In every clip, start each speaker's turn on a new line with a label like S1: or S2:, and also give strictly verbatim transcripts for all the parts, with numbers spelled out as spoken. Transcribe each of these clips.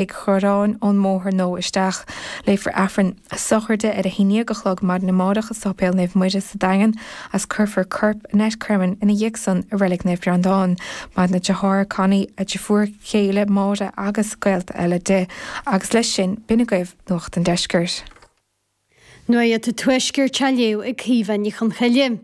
S1: Tigh Chorráin ón mbóthar nó isteach. Léifear Aifreann a sochraide ar a haon déag a chlog maidin amárach i Sáipéal Naomh Muire sa Daingean agus cuirfear corp Annette Cremin ina dhiaidh san i Reilig Naomh Breandán. Maireann a deartháir Connie, a deirfiúr chéile Máire agus gaolta eile di. Agus leis sin b'in agaibh Nuacht an Deiscirt.
S2: Nuacht an Tuaiscirt á léamh ag Caoimhe Ní Chonchoille.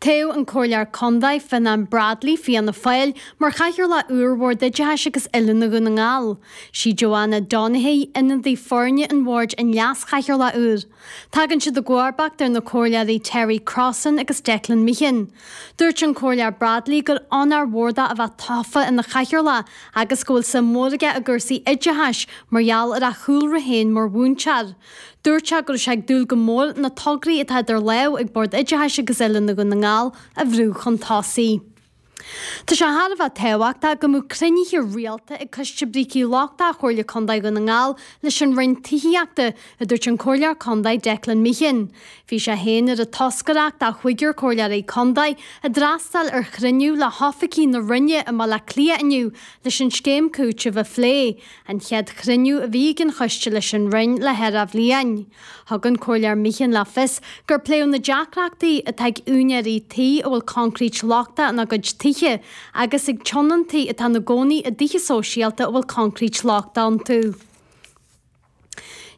S2: Toghadh an Comhairleoir Contae Fionnán Bradley Fianna Fáil mar chathaoirleach úr Bhord Oideachais agus Oiliúna Dhún na nGall. Sí Joanna Donaghy, ionadaí foirne an bhoird an leas-chathaoirleach úr. Tagann siad i gcomharbacht ar na comhairleoirí Terry Crossan agus Declan Meehan. Dúirt an Comhairleoir Bradley gur onóir mhór dó a bheith tofa ina chathaoirleach agus go bhfuil suim mhór aige i gcúrsaí oideachais mar gheall ar a chúlra féin mar mhúinteoir. Dúirt sé go raibh sé ag dúil go mór na tograí atá idir lámha ag Bord Oideachais agus Oiliúna Dhún na nGall a bhrú chun tosaigh. Tá sé thar a bheith tábhachtach go mbeadh cruinnithe rialta ag Coiste Brící Lochtacha Chomhairle Contae Dhún na nGall leis an Roinn Tithíochta, a dúirt an Comhairleoir Contae Declan Meehan. Bhí sé féin ar an toscaireacht de chúigear Comhairleoirí Contae a d'fhreastail ar chruinniú le hoifigigh na Roinne i mBaile Átha Cliath inniu leis an scéim cúitimh a phlé, an chéad chruinniú a bhí ag an choiste leis an Roinn le ceithre bhliain. Thug an Comhairleoir Meehan le fios gur pléadh na deacrachtaí atá ag úinéirí tí a bhfuil coincréit lochtach ina gcuid tithe agus ag tionóntaí atá ina gcónaí i dtithe sóisialta a bhfuil coincréit lochtach iontu.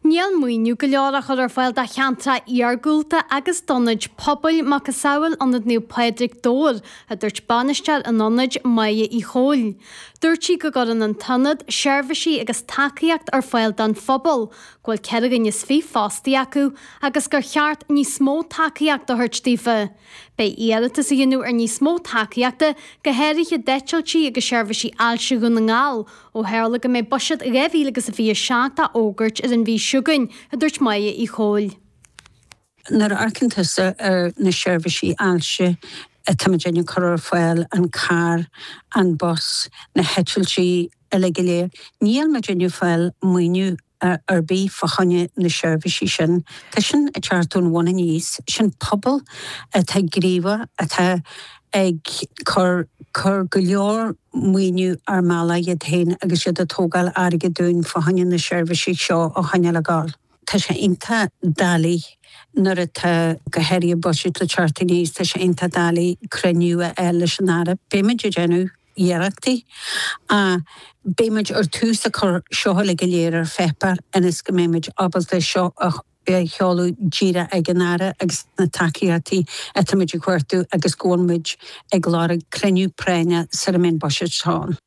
S2: Níl maoiniú go leor á chur ar fáil do cheantracha iargúlta agus d'ionaid pobail macasamhail Ionad Naomh Pádraig Dobhair, a dúirt bainisteoir an ionaid Máire Uí Chomhaill. Dúirt sí go gcuireann an t-ionad seirbhísí agus tacaíocht ar fáil don phobal, go bhfuil ceithre dhuine is fiche fostaí acu agus gur cheart níos mó tacaíocht a thabhairt daofa. Beidh iarratas á dhéanamh ar níos mó tacaíochta, go háirithe d'eitiltí agus seirbhísí ailse Dhún na nGall, ó tharla go mbeidh buiséad dhá mhíle agus a fiche seacht á fhógairt ar an mhí seo chugainn, a dúirt Máire Uí Chomhaill.
S3: Nuair a amharcann tusa ar na seirbhísí ailse atáimid ag cur ar fáil, an carr, an bus, na heitiltí uilig go léir, níl muid ag fáil maoiniú ar bith fá choinne na seirbhísí sin. Tá sin ag teacht ón bhun aníos, sin pobal atá gníomhach, atá ag cur cur go leor maoiniú ar mbealach iad féin agus iad ag tógáil airgead dúinn fá choinne na seirbhísí seo a choinneáil ag gabháil. Tá sé iontach doiligh nuair atá go háirithe buiséad le teacht aníos, tá sé iontach doiligh cruinniú a fháil leis an Aire. Beimid ag déanamh iarrachtaí. Beimid ar tús ag cur seo uilig go léir ar pháipéar ionas go mbeimid ábalta seo a sheoladh díreach ag an Aire agus na tacaíochtaí atáimid ag cuartú agus go bhfuil muid ag lorg cruinniú práinne sara mbeidh an buiséad seo ann.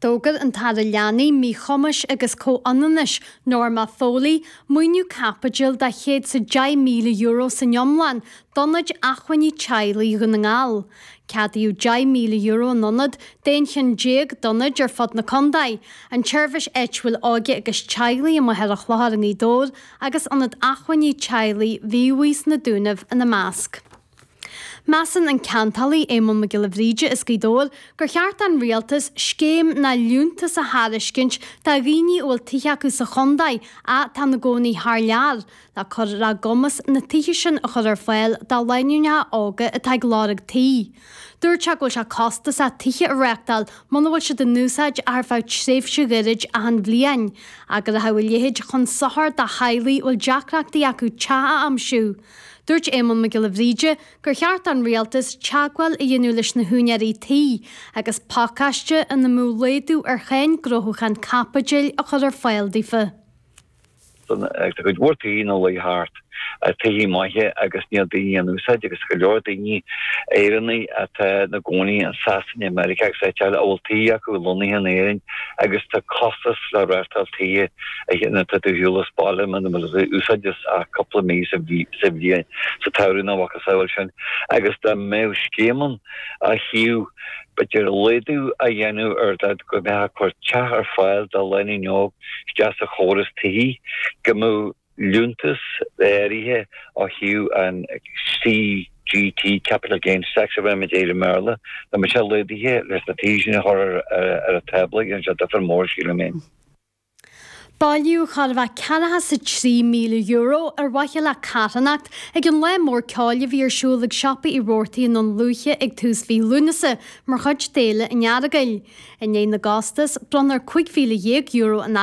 S2: D'fhógair an tAire Leanaí, Míchumais agus Comhionannais, Norma Foley, maoiniú caipitil de chéad is a deich míle euro san iomlán d'Ionaid Acmhainní Teaghlaigh Dhún na nGall. Ceadaíodh deich míle euro an ionad d'aon cheann déag d'ionaid ar fud na contae, an tSeirbhís Áitiúil Óige agus Teaghlaigh i Machaire Chlochair i nGaoth Dobhair agus Ionad Acmhainní Teaghlaigh Mhíobhaigh sna Dúnaibh ina measc. Measann an ceantálaí Éamonn Mac Giolla Bhríde as Gaoth Dobhair gur cheart don rialtas scéim nó liúntas a thairiscint do dhaoine a bhfuil tithe acu sa chontae ach atá ina gcónaí thar lear, le cur ar a gcumas na tithe sin a chur ar fáil do lánúineacha óga atá ag lorg tí. Dúirt sé go bhfuil sé costasach tithe a reáchtáil muna bhfuil siad in úsáid ach ar feadh tréimhse ghairid achan bhliain, ach go rachadh a leithéid chun sochair do theaghlaigh a bhfuil deacrachtaí acu teach a aimsiú. Dúirt Éamonn Mac Giolla Bhríde gur cheart don rialtas teagmháil a dhéanamh leis na húinéirí tí agus pacáiste ina mbeadh laghdú ar cháin gnóthúcháin caipitil a chur ar fáil daofa.
S4: Tá cuid mhór tithe ina luí thart, tithe maithe agus níl daoine á n-úsáid agus go leor daoine Éireannaigh atá ina gcónaí in Sasana, Meiriceá agus áit eile a bhfuil tithe acu lonnaithe in Éirinn agus tá costas le reáchtáil tithe nuair atá tú ar shiúl as baile muna bhfuil tú á úsáid ach cúpla mí sa bhliain, sa tsamhradh nó a mhacasamhail sin agus dá mbeadh scéim ann ó thaobh b'fhéidir laghdú a dhéanamh ar dad go mbeifeá ag cur teach ar fáil do lánúin óg isteach sa chóras tithí, go mbeadh liúntas áirithe ó thaobh an CGT, Capital Gains Tax a bheirimid air i mBéarla, dá mbeadh sé laghdaithe leis na tithe sin a chur ar an tábla, dhéanfadh sé difear mór, sílim féin.
S2: Bailíodh chóir a bheith ceathracha 's a trí míle euro ar mhaithe le carthanacht ag an lá mór ceoil a bhí ar siúl ag Siopa Uí Robhartaigh i nDún Lúiche ag tús mhí Lúnasa mar chuid d'Fhéile an Earagail. I ndiaidh na gcostas, bronnfar cúig mhíle dhéag euro in